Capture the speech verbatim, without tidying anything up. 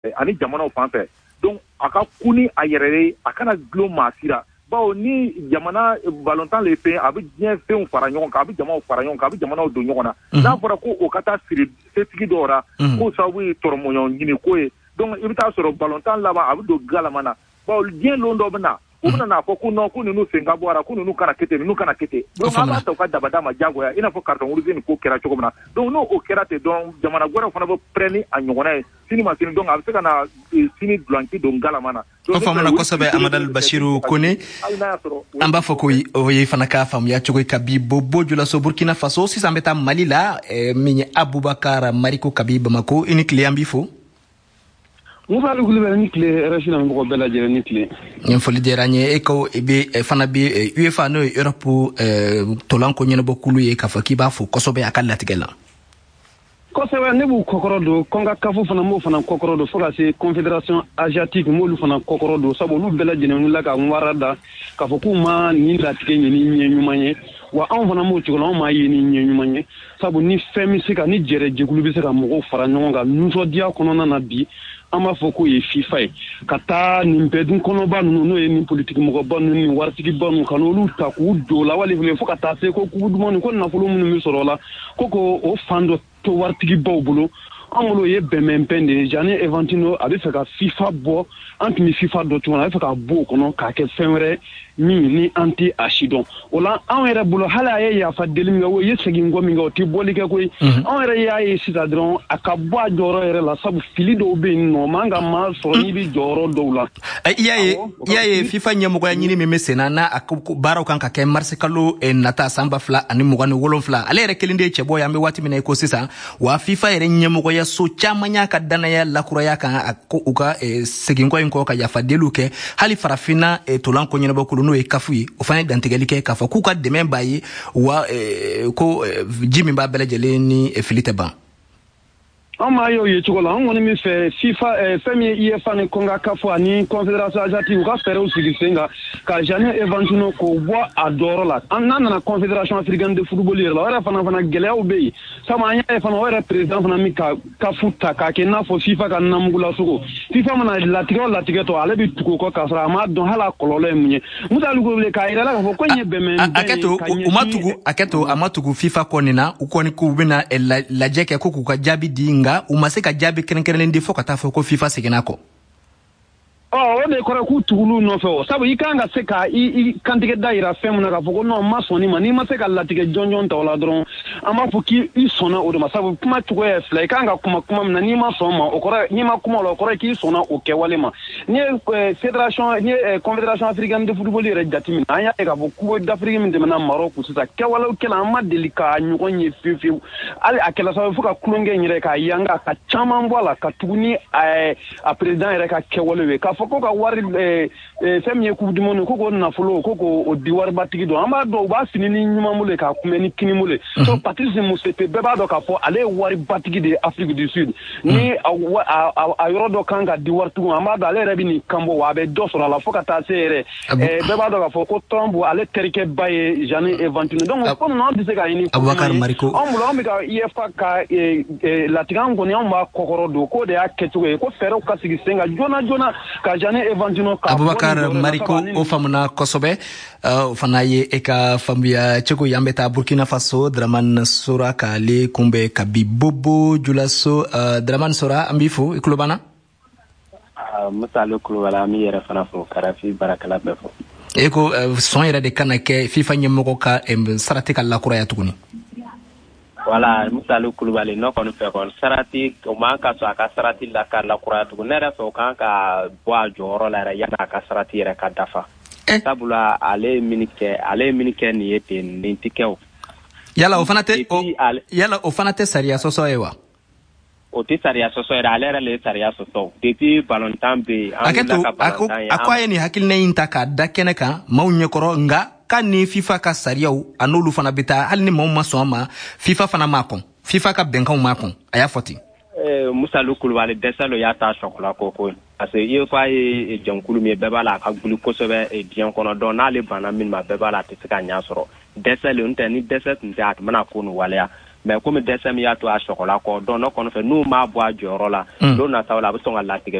Ani jamanaw fan fɛ. Donc a ka kun ni a yɛrɛ ye, a kana dulon maa si la, bawo ni jamana balontan le fɛn, a bɛ diɲɛ fɛnw fara ɲɔgɔn kan, a bɛ jamaw fara ɲɔgɔn kan, a bɛ jamanaw don ɲɔgɔn na. N'a fɔra ko o ka taa siri setigi dɔw la, k'o sababu ye tɔrɔmɔɲɔgɔn ɲini ko ye, donc i bɛ taa sɔrɔ balontan laban a bɛ don galama na, bawo diɲɛ lon dɔ bɛ na, u bɛna n'a fɔ ko non, ko ninnu sen ka bɔ a la, ko ninnu kana kɛ ten, ninnu kana kɛ ten. Donc an b'a ta u ka dabada ma diyagoya, i n'a fɔ carton rouge nin ko kɛra cogo min na. Donc n'o o kɛra ten dɔrɔn, jamana wɛrɛw fana bɛ pɛrɛn ni a ɲɔgɔnna ye sini ma sini. Donc a bɛ se ka na sini dulanci don galama na. O faamuna kosɛbɛ, Amadal Basiru Kone. An b'a fɔ ko o ye fana ka faamuya cogo ka bi Bobo Julaso, Burkina Faso. Sisan bɛ taa Mali la, min ye Abubakar Mariko kabi Bamako. I ni tile, an b'i fo. Musa Kulubali, ni tile. R F I na mɔgɔ bɛɛ lajɛlen, ni tile. Nin foli diyara n ye. E ko i bɛ fana bɛ UEFA, n'o ye Europe tolan ko ɲɛnabɔkulu ye, k'a fɔ k'i b'a fo kosɛbɛ a ka latigɛ la. Kosɛbɛ, ne b'u kɔkɔrɔ don. CONCACAF fana, m'o fana kɔkɔrɔ don, fo ka se Confédération asiatique, m'olu fana kɔkɔrɔ don, sabu olu bɛɛ lajɛlen wulila ka wara da k'a fɔ k'u ma nin latigɛ ɲini ɲɛ ɲuman ye. Wa anw fana m'o cogo la, anw m'a ye ni ɲɛ ɲuman ye, sabu ni fɛn bɛ se ka ni jɛrɛ jɛkulu bɛ se ka mɔgɔw fara ɲɔgɔn kan nisɔndiya kɔnɔna na bi, an b'a fɔ k'o ye FIFA ye. Ka taa nin bɛɛ dun kɔnɔba ninnu, n'o ye nin politiki mɔgɔba ninnu ni waritigiba ninnu, ka n'olu ta k'u don la wali fo ka taa se ko coupe du monde, ko nafolo minnu bɛ sɔrɔ o la, ko ko o fan dɔ to waritigibaw bolo, an bolo o ye bɛnbɛnbɛn de ye. Gianni Infantino a bɛ fɛ ka FIFA bɔ, an tun bɛ FIFA dɔn cogo min na, a bɛ fɛ ka bɔ o kɔnɔ k'a kɛ fɛn wɛrɛ min ni an tɛ a si dɔn. O la, anw yɛrɛ bolo, hali a ye yafa deli min kɛ, o ye segin kɔ min kɛ, o tɛ bɔli kɛ koyi. Anw yɛrɛ y'a ye sisan dɔrɔn, a ka bɔ a jɔyɔrɔ yɛrɛ la, sabu fili dɔw bɛ yen nɔ, man ka maa sɔrɔ n'i bɛ jɔyɔrɔ dɔw la. I y'a ye, i y'a ye, FIFA ɲɛmɔgɔya ɲini min bɛ sen na, n'a baaraw kan ka kɛ marisi kalo nata san ba fila ani mugan ni wolonfila, ale yɛrɛ kelen de ye cɛbɔ ye an bɛ waati min na i ko sisan. Wa FIFA yɛrɛ ɲɛmɔgɔyaso caman y'a ka danaya lakuraya kan, a ko u ka seginkɔ in kɔ ka yafa deliw kɛ. Hali farafinna tolan ko ɲɛnabɔkulu, n'o ye CAF ye, o fana ye dantigɛli kɛ k'a fɔ k'u ka dɛmɛ b'a ye, wa ko ji min b'a bɛɛ lajɛlen ni fili tɛ ban. An m'a ye o ye cogo la. An kɔni min fɛ, FIFA, fɛn min ye UEFA ni CONCACAF ani Confédération asiatique, u ka fɛɛrɛw sigi sen kan ka Gianni Infantino k'o bɔ a dɔyɔrɔ la. An n'a nana Confédération africaine de football yɛrɛ la, o yɛrɛ fana fana gɛlɛyaw bɛ yen, sabu an y'a ye fana, o yɛrɛ président fana min ka CAF ta k'a kɛ i n'a fɔ FIFA ka namugulasogo, FIFA mana latigɛ o latigɛ tɔ, ale bɛ tugu o kɔ k'a sɔrɔ a m'a dɔn hali a kɔlɔlɔ ye mun ye. Musa Kulubali, k'a yira la k'a fɔ ko in ye bɛnbɛnbɛn. A kɛ to, u ma tugu, a kɛ to, a ma tugu FIFA kɔ nin na. U kɔni k'u bɛna lajɛ kɛ ko k'u ka jaabi di, nka u ma se ka jaabi kɛrɛnkɛrɛnnen di fo ka taa fɔ ko FIFA seginna kɔ. Ɔ, o de kɔrɔ k'u tugul'u nɔfɛ o, sabu i kan ka se ka i kantigɛ da yira fɛn min na k'a fɔ ko non, n ma sɔn nin ma. N'i ma se ka latigɛ jɔnjɔn ta o la dɔrɔn, an b'a fɔ k'i sɔnna o de ma, sabu kuma cogoya ye fila. I kan ka kuma kuma min na, n'i ma sɔn ma, o kɔrɔ n'i ma kuma o la, o kɔrɔ k'i sɔnna o kɛwale ma. N'i ye fédération, n'i ye Confédération africaine de football yɛrɛ jateminɛ, an y'a ye k'a fɔ Coupe d'Afrique min tɛmɛna Maroc sisan, kɛwalew kɛla an ma deli k'a ɲɔgɔn ye fiyewu fiyewu. Hali a kɛla sababu fo ka tulonkɛ in yɛrɛ k'a yanga ka caman bɔ a la, ka tugu ni a président yɛrɛ ka kɛwalew ye, k'a fɔ ko ka wari, fɛn min ye Coupe du monde, ko k'o nafolo ko k'o di waribatigi dɔn. An b'a dɔn u b'a fini ni ɲuman bolo ye k'a kunbɛn ni kini bolo ye. So Patrice Motsepe, bɛɛ b'a dɔn k'a fɔ ale ye waribatigi de ye Afrique du Sud. Ni a yɔrɔ dɔ kan ka di waritigiw, an b'a dɔn ale yɛrɛ bɛ nin kan bɔ, wa a bɛ dɔ sɔrɔ a la fo ka taa se yɛrɛ. Bɛɛ b'a dɔn k'a fɔ ko Trump, ale terikɛ ba ye Gianni Infantino. Donc ko ninnu, an tɛ se ka ɲini. Abubakar Mariko. Anw bolo, an bɛ ka UEFA ka latigɛ, an kɔni anw b'a kɔkɔrɔ don k'o de y'a kɛcogo ye, ko fɛɛrɛw ka sigi sen kan joona joona ka Gianni Infantino ka. Abubakar Mariko, o faamuna kosɛbɛ. O fana ye e ka faamuya cogo ye. An bɛ taa Burkina Faso, Dramane Sora k'ale kunbɛn kabi Bobo Julaso. Dramane Sora, an b'i fo, i tulo b'an na? Musa Ale Kulubali, an b'i yɛrɛ fana fo, ka R F I baarakɛla bɛɛ fo. E ko sɔn yɛrɛ de kana kɛ FIFA ɲɛmɔgɔ ka sarati ka lakuraya tuguni. Wala, Musa Ale Kulubali, ne kɔni fɛ kɔni, sarati o man ka sɔn a ka sarati la ka lakuraya tuguni. Ne yɛrɛ fɛ, o kan ka bɔ a jɔyɔrɔ la yɛrɛ yanni a ka sarati yɛrɛ ka dafa, sabula ale ye min kɛ ale ye min kɛ nin ye ten, nin tɛ kɛ o. Yala o fana tɛ yala o fana tɛ sariya sɔsɔ ye wa? O tɛ sariya sɔsɔ yɛrɛ, ale yɛrɛ le ye sariya sɔsɔ depuis balontan bɛ yen. An wulila ka balontan ye. A ko a ye nin hakilina in ta k'a da kɛnɛ kan maaw ɲɛkɔrɔ, nka k'a ni FIFA ka sariyaw, a n'olu fana bɛ taa. Hali ni maaw ma sɔn a ma, FIFA fana m'a kɔn, FIFA ka bɛnkanw m'a kɔn, a y'a fɔ ten. Musa Kulubali, dɛsɛ lo y'a ta sɔkɔla ko ko parce que UEFA ye jɛnkulu min ye, bɛɛ b'a la a ka guli kosɛbɛ diɲɛ kɔnɔ. Donc n'ale banna min ma, bɛɛ b'a la a tɛ se ka ɲɛ sɔrɔ. Dɛsɛ le, n tɛ ni dɛsɛ tun tɛ, a tun bɛna ko nin waleya. Mais komi dɛsɛ min y'a to a sɔgɔla kɔ, donc ne kɔni fɛ, n'u m'a bɔ a jɔyɔrɔ la, don nataw la a bɛ sɔn ka latigɛ.